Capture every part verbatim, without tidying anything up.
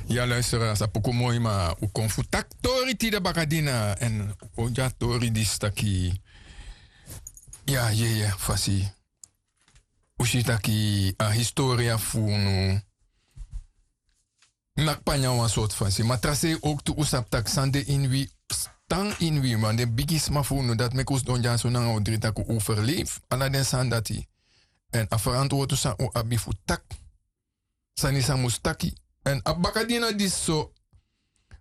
Ya luisteraars, a poku moi, ma un kon fu taki tori tide bakadina. Èn un kon gi a tori disi taki, ya, yeye, fasi un si taki a historia fu unu naki panya wan sortu fasi. Ma tra sei owktu un sabi tak' san de ini wi, tan ini wi, ma den bigisma fu unu, dati meki un sidon dyaso nanga un dri tak' un overleef ala den sani dati. Èn a ferantwortu san un abi fu taki sani san mus taki. Èn a bakadina disi so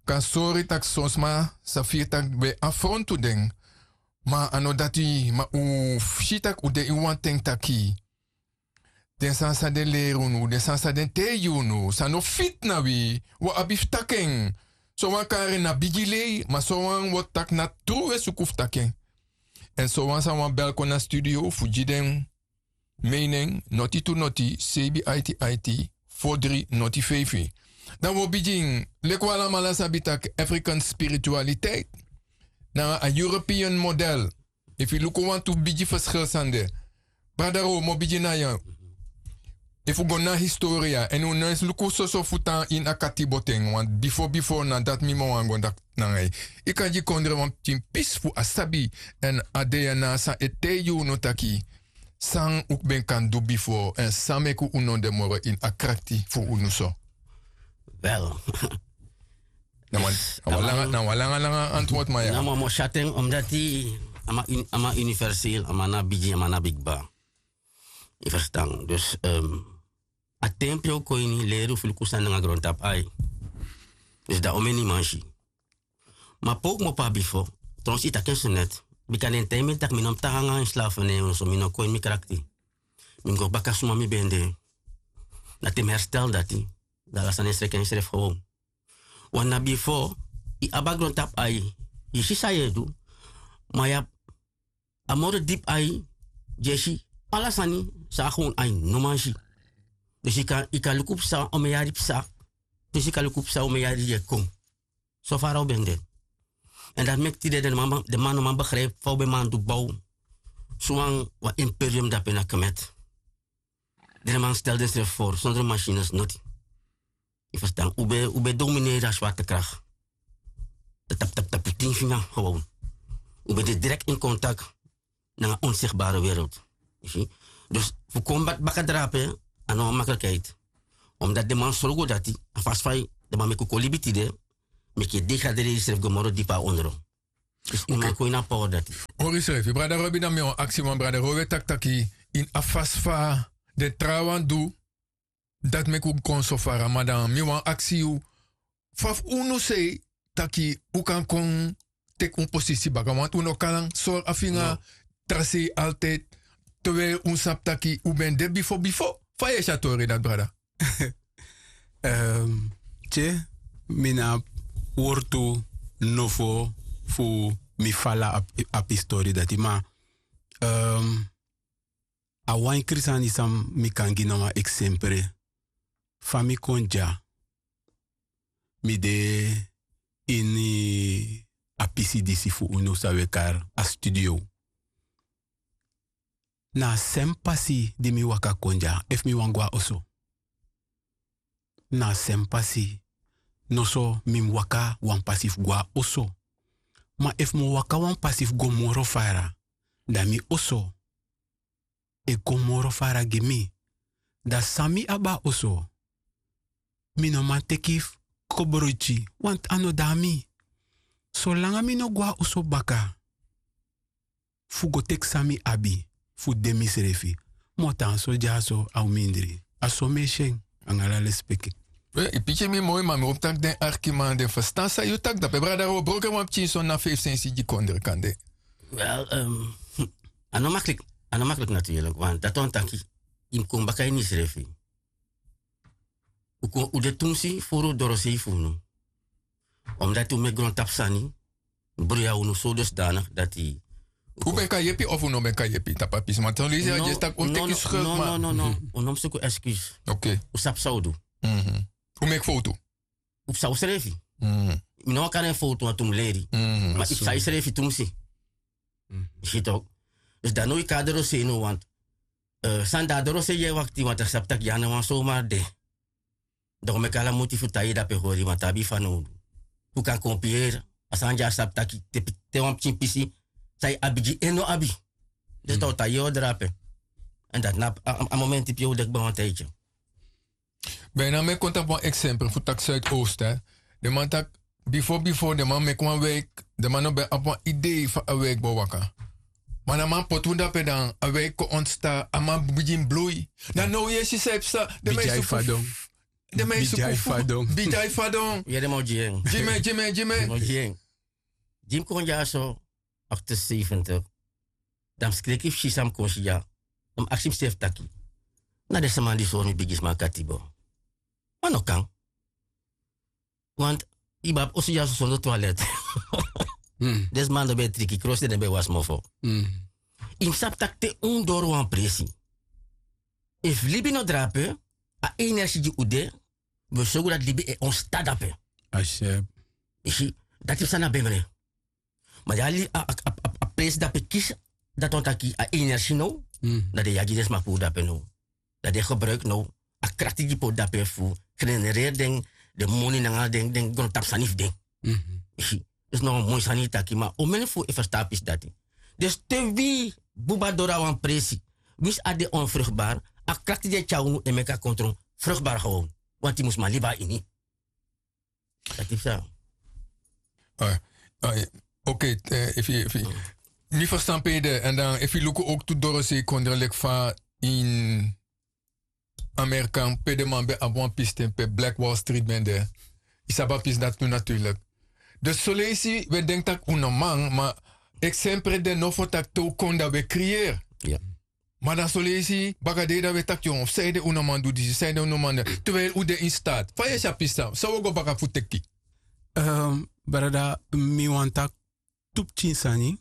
kan sori tak' son sma sa firi tak' ben afrontu den. Ma a no dati, ma un si tak' un de ini wan ten taki den sani san den leri unu, den sani san den taigi unu, san no fiti na wi, un abi fu taki en. Sowan kari en na bigi lei, ma sowan wortu taki na tru un e suku fu taki en. Èn sowan san wani bel kon na studio fu gi den meinen, noti tu noti, seibi aiti aiti, fo dri noti feifi. Dan un o bigin, leki un alamala sabi tak' African spiritualiteit nanga a European model. Efu yu luku wantu bigi ferskil san de. Brada Ro, mi o bigin na yu. Efu un go na historia, èn un no e luku soso fu tan ini a katibo ten, want bifo bifo na dati mi mo wani go daki nanga yu. Yu kan gi kondre wan pikin pisi fu a sabi, èn a DNA san e taigi unu taki san un ben kan du bifo, èn san meki un no de moro ini a krakti fu unu so. Wel, na wan, na wan langa, na wan langa, langa antwoord, ma ya. Na wan mo syaten, omdat a man uni-, a man universeel, a man na bigi, a man na bigi ba. Yu ferstan. Dus, ehm, a ten pe un kon ini, leri un fu luku sani nanga grontapu ai. Dus dan omeni man si. Ma pe un kmopo na bifo, trouwens yu taki en so net. Bika den taigi mi taki mi no mus tan nanga ini slavernij, so mi no kon ini mi krakti. Mi mus go baka suma mi ben de. Na te mi herstel dati, dan ala sani e sreki en srefi gewoon. Want na bifo, yu abi a grontapu ai, yu si san yu e du, ma yu abi a moro dipi ai, di e si ala sani san a gewon ai no man si. Dus yu kan, yu kan luku psa, omeni yari psa. Dus yu kan luku psa, omeni yari di e kon. So fara un ben de. Èn dati meki tide den man, den man no man begrijpi fa un ben man du bow. So wan, wan imperium dape na Kemet. Den man stel densrefi voor, zonder machines, noti. Yu ferstan, un ben, un ben domineri a zwaartekracht. Tap, tap, tap, tin finga, gewoon. Un ben de direct in contact nanga onzichtbare wereld. Yu si? Dus fu kon bak-, baka drape, a no wan makkelijkheid. Omdat den man sorgu dati, a fasi fa den man meki un kon libi tide, meki yu degradeer yusrefi go moro dipa ondro. Dus yu man kon ini a power dati. Hori yusrefi, brada Robi, dan mi wani aksi wan, brada Robi e taki taki ini a fasi fa den trawan du, dati meki un kon so fara, ma dan mi wani aksi yu, fa fu unu sei taki un kan kon teki un posisi baka, want un no kan sori a finga tra sei altijd, terwijl un sabi taki un ben de bifo bifo. Fa yu e si a tori dati, brada? Ehm, tye, mi no abi wortu nofo fu mi fala a pi-, a pistori dati, ma, ehm, a wan enkri sani san mi kan gi na wan eksempre. Fa mi kon dya, mi de ini a pisi disi fu unu san un e kari a studio. Na a srefi pasi di mi waka kon dya, efu mi wani go na oso. Na a srefi pasi, noso mi mus waka wan pasi fu go na oso. Ma efu mi o waka wan pasi fu go moro fara, dan mi oso e go moro fara gi mi. Dan san mi abi na oso, mi no man teki fu kobroiti, want a no de na mi. Solanga mi no go na oso baka fu go teki san mi abi fu de misrefi, mi o tan so dyaso a un mindri. A so mi e si en, nanga ala lespeki. We, yu piki mi moi, ma mi hopi tak' den arkiman den ferstan san yu taki. Dape brada, un o broko en wan pikin soni na feifi sensi gi kondre kande. Wel, ehm, a no maklik, a no maklik natuurlijk, want dati wani taki yu mus kon baka ini yusrefi. Un kon, un de tumsi furu dorosei fu unu. Omdat un meki grontapu sani bruya unu so dusdanig dati. Un ben kan yepi of un no ben kan yepi tapu a pisi? Ma son leisi a dyesi taki un teki schuld, no, ma no, no, no. Un no mus suku excuse. Oké. Un sabi san un du. Mhm. Un meki fowtu. Un psa unsrefi. Mhm. Mi no wani kari en fowtu, want un mus leri. Mhm. Ma yu psa yusrefi tumsi. Mhm. Yu si toch. Dus dan no yu kon na dorosei no, want, eh, san de na dorosei yu e wakti, want a sabi tak' yu a no wan somar de. Dan un meki ala muti fu tai dape hori ma tabi fanowdu. Un kan kon pieri a sani di a sabi taki te wan pikin pisi san yu abi gi en no abi. Dus dan un tai yu drape. Èn dati na a momenti pe yu o deki ban wan taitye. Ben na meki kon tapu wan eksempel fu taki suidoosten. Den man taki bifo bifo den man meki wan wik. Den man no ben abi wan idei fa a wik bo waka. Ma na man poti un dape dan a wik kon ontsta a man bigin blui. Dan now yu e si san e psa. Den man e suku fadon. Den man e suku fadon. Bidjai fadon. Gi mi gi mi gi mi. Gi mi kon dyaso. Achter seventig. Dan mi skreki fu si san mi kon si dya. Dan mi aksi mi sefi taki na den sma di sori mi bigi sma katibo. Ma no kan. Want yu ben abi oso dyaso sondo twalet. Den sma no ben e triki krosi den no ben e wasi mofo. Yu mus sabi tak' te un doro wan presi, efu libi no drape, a energi gi un de, wi o sorgu dati libi e onsta dape. Yu si, dati psa na bemre. Ma di a presi dape kisi, dati wani taki a energi now, dan den yagi den sma puru dape now. Dan den gebruiki now a krakti di poti dape fu genereri den moni nanga den grontapu sani fu den. Yu si, dus na wan moi sani yu taki ma omeni fu e ferstan a pisi dati. Dus te wi buba doro na wan presi, winsi a de onfruktbari, a krakti di e tyari unu e meki a kontro fruktbari gewoon. Wanti yu mus man libi na ini. Dati psa. Oke. Efu yu efu yu mi ferstan pe yu de èn dan efu yu luku owktu dorosei kondre leki fa ini amerika pe den man ben abi wan pisten pe black wall street ben de. Yu sabi a pisi dati tu naturlik. Dus soleisi wi e denki tak' un no man ma eksempre de nofo tak' te un kon dan wi e kriyeri. Ma dan soleisi bakadei dan wi e taki yon fu sanede un no man du disi sanede un no man de. Terwijli un de ini staati fa yu e si a pisi san wi o go baka fu teki? Brada, mi wani taki tu pikin sani.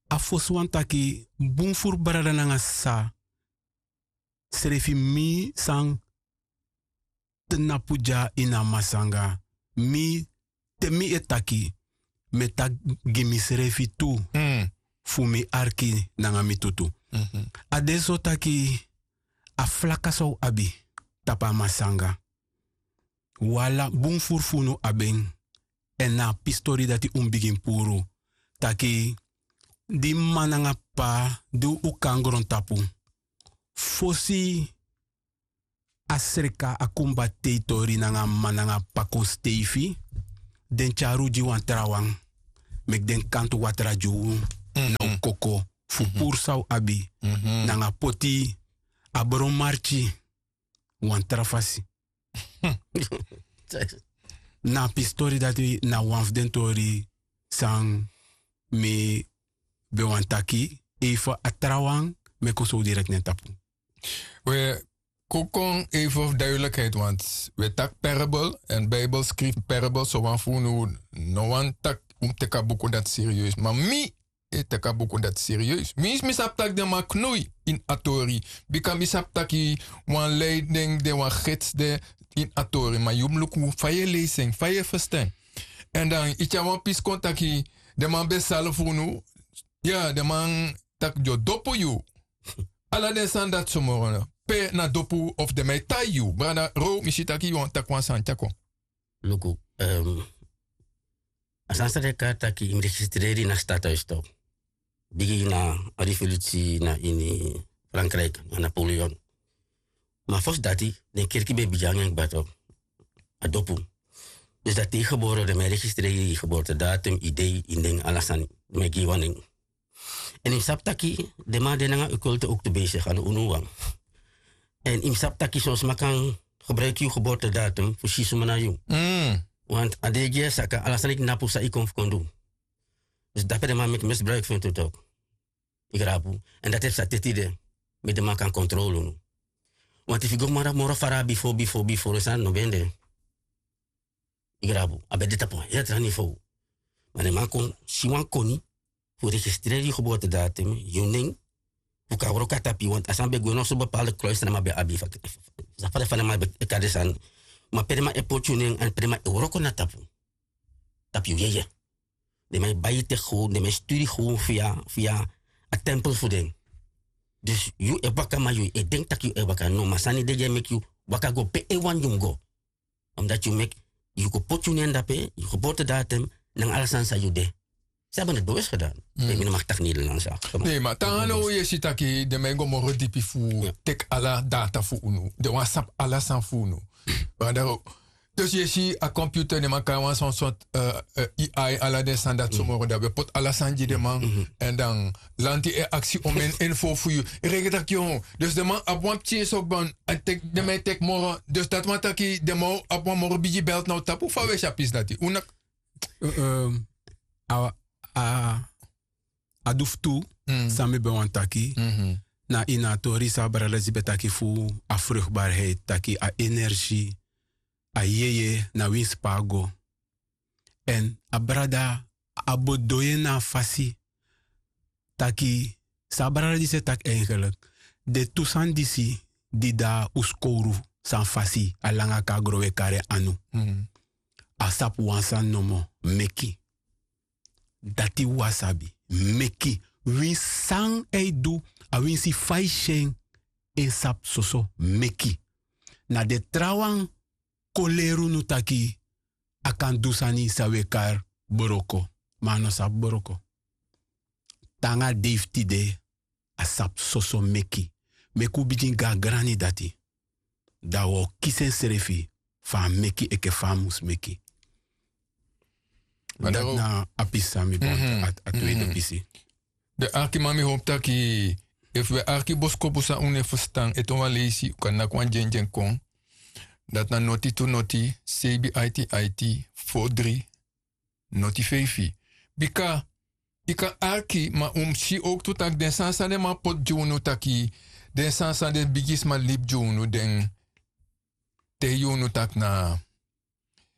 A fosi wani taki bun furu brada nanga sisa srefi mi san tnapu dya ini a masanga. Mi te mi e taki mi e taki gi misrefi tu fu mi arki nanga mi tutu. A de so taki a flaka san un abi tapu a masanga wala bun furu fu unu abi en. Èn na a pistori dati un bigin puru taki di mma nanga p'pa di un kan grontapu fosi a sreka a kumba teitori nanga a mma nanga a p'pa kon steifi den tyari un gi wan trawan meki den kantu watra gi un na un koko fu puru san un abi nanga poti a bron marki wan tra fasi. Na a pistori dati na wan fu den tori san mi ben wani taki eifen a trawan meki un sowdirekti na en tapu. We kon kon even fu duidelijkheid want we taki parable en bijbel skrifi parable so wan fu unu no wani taki un mus teki a buku dati serieus ma mi e teki a buku dati serieus mi sabi taki den man knoi ini a tori bika mi sabi taki wan lei den de wan gits de ini a tori ma yu mus luku fa yu e leisi en fa yu e ferstan en èn dan yu tyari wan pisi kon taki den man ben sali fu unu ya den man taki den o dopu yu ala den sani dati so moro pe na dopu of den man e tai yu brada row mi si taki yu wani taki wan sani tyari kon. Luku a sani san den kari taki yu mus registreri na statuis tok bigi na a revolusi na ini frankrijk na napoleon. Ma fosi dati den kerki ben e bigi nanga en kba tok a dopu. Dus dati te yu gebore den man e registreri yu geboortedatum yu dei yu nen ala sani den man e gi yu wan nen. Èn yu mus sabi taki den man de nanga ukultu owktu beisigi a no unu wan. Èn yu mus sabi taki son sma kan gebruiki yu geboortedatum fu si suma na yu. Want a dei gi yu e saka ala sani knapu san yu kon fu kon du. Dus dape den man meki misbruiki fu en tu tok. Yu grabu. Èn dati e psa te tide meki den man kan kontrole unu. Want efu yu go moro fara bifo bifo bifo den sani no ben de. Yu grabu a ben de tapu wan heri tra nivow. Ma den man kon si wan koni fu registreri yu geboortedatum yu nen fu kan wroko na tapu yu want a sani ben gwe na oso bepalde kroisi san den man ben abi fa den man e kari den sani. Ma pe den man e poti yu nen èn pe den man e wroko na tapu tapu yu yeye. Den man e bai yu te gown den man e sturi gown fu yu a tempel fu den. Dus yu e waka ma yu e denki tak' yu e waka no ma sani de di e meki yu waka go pe en wani yu mus go. Omdati yu meki, yu go poti yu nen dape, yu go poti datum, nanga ala sani san yu de. Sabi a no dowesi gedan. Mi no maki taki nederlands. Nei ma tanga no yu e si taki den man e go moro dipi fu teki ala data fu unu, den wani sabi ala sani fu unu. Dus yu e si a computer den man kari wan son sort, ai ala den sani dati so moro dan wi e poti ala sani gi den man. Èn dan lanti e aksi omen info fu yu. Reken taki yu, dus den man abi wan pikin so ban, den man e teki moro. Dus dati man taki den man abi wan moro bigi belt na un tapu fa wi e si a pisi dati. A du fu tu, san mi ben wani taki, na ini a tori san a brada disi ben taki fu a frukbarheit, taki a energi, a yeye na winsi pe a go. Èn a brada, a bo du en na a fasi taki, san a brada disi e taki eigenlik, den tu sani disi di de na un skowru, san fasi a langa kon na gron wi e kari en anu. A sabi wan sani nomo, meki. Dati wi a sabi, meki. Winsi san a e du, a winsi fa a e si en, en sabi soso meki. Na den trawan kon leri unu taki a kan du sani san wi e kari broko, ma a no sabi broko. Te nanga a dei fu tide, a sabi soso meki. Meki un bigin go na grani dati. Dan wi o kisi ensrefi fu a meki enke fa a mus meki. Dati na a pisi san mi bon, a tweede pisi. Den arkiman, mi howpu taki efu wi e arki boskopu san un no e ferstan ete wan leisi un kan naki wan dyendyen kon. Dati na noti tu noti, seibi aiti aiti, fo dri, noti feifi. Bika yu kan arki ma un mus si owktu tak' den sani san den man poti gi unu taki, den sani san den bigisma libi gi unu, den taigi unu tak' na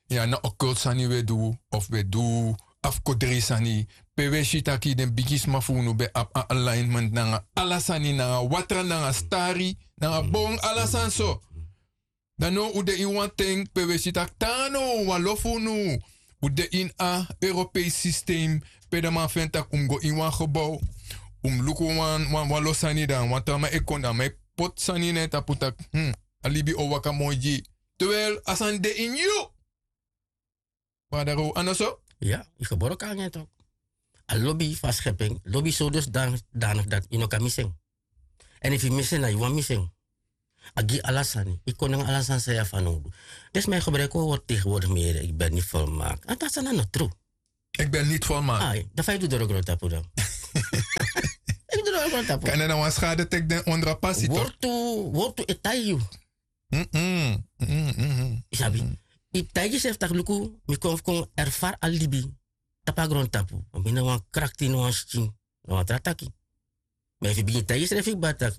ya na okultu sani wi e du, of wi e du afkodri sani, pe wi e si tak' den bigisma fu unu ben abi a alignment nanga ala sani, nanga watra, nanga stari, nanga bon, ala sani so. Dan now un de ini wan ten pe wi e si tak' tan now wan lo fu unu, un de ini a europeisi sistem, pe den man feni tak' un mus go ini wan gebow, un mus luku wan lo sani, dan wan tra man e kon, dan a man e poti sani na en tapu tak' a libi o waka moi gi yu. Terwijl a sani de ini yu. Brada Row, a no so? Ya, yu geboro kon nanga en tok. A lobi fu a schepping, lobi so dus dan, dan of dati yu no kan misi en. Èn efu yu misi en, na yu wani misi en. A gi yu ala sani, yu kon nanga ala sani san yu abi fanowdu. Dus mi e gebruiki wan wortu tegenwoordig mi yere, ik ben niet volmaakt. A dati sani na no tru. Ik ben niet volmaakt. Ai, dan fa yu du doro grontapu dan? Yu du doro grontapu. Kan na wan schade teki den ondro a pasi tok. Wortu, wortu e taigi yu. Yu sabi, yu taigi yusrefi tak' luku, mi kon fu kon erfari a libi tapu a grontapu. Mi na wan krakti, na wan skin, na wan tra taki. Ma efu yu bigin taigi yusrefi kba tak'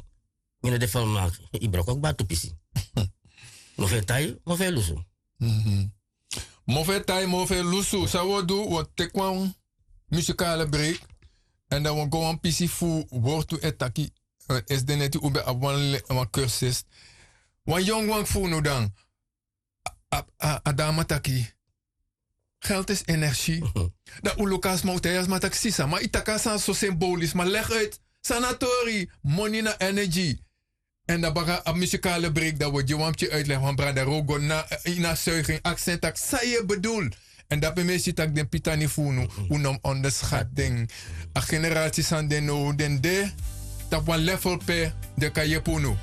mi no de volmaakt, yu broko kba tu pisi. Mofo e tai, mofo e lusu. Mofo e tai, mofo e lusu. San wi o du, wi o teki wan musikale break. Èn dan wi o go wan pisi fu wortu e taki. Esi de neti un ben abi wan kursus. Wan yongu wan fu unu dan, a dama taki, geld is energie. Dan un luku a sma, un taigi a sma taki sisa, ma yu taki a sani so symbolisch, ma leg uit. San na tori, moni na energie. Èn dan baka a musikale break, dan wi o gi wan pikin uitleg, wan brada Row go na ini a zuiging, aksi en tak' san yu e bedoel. Èn dape mi e si tak' den pitani fu unu, un no mus onderschat den. A generasi san de now, den de tapu wan level pe den kan yepi unu.